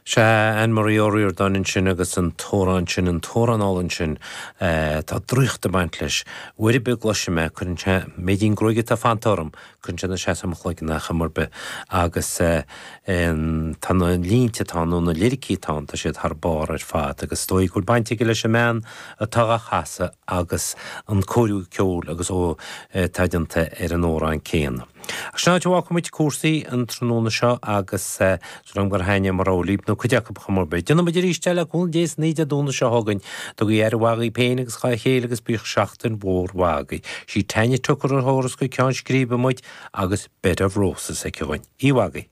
Sea, Anne Marie Ó Ríordáin ansin agus an t-amhrán sin, an t-amhrán álainn sin, tá draíocht ag baint leis. Uair ar bith a gcloisim é, cuireann sé, méidín gruaige atá fanta orm, cuireann sé ina seasamh mo chloigeann é chuma ar bith. Agus tá na línte atá ann, nó na liricí atá ann, tá siad thar barr ar fad. Agus is dóigh go bhfuil baint aige leis an mbean atá á chasadh agus an cóiriú ceoil agus ó atá déanta ar an amhrán céanna. Ach sin áit a bhfágfaidh muid cúrsaí an tráthnóna seo agus súil agam gur thaitnigh mo rogha libh, nó cuid acu chuma ar bith. Déanfaidh muid arís é le cúnamh Dé san oíche Dé Domhnaigh seo chugainn. Tugaigí aire mhaith dhaoibh féin agus dhá chéile agus bíodh seachtain mhór mhaith agaibh. Sí Tanya Tucker a thabharfas go ceann scríbe muid agus Bed of Roses aici dhúinn. Oíche mhaith agaibh.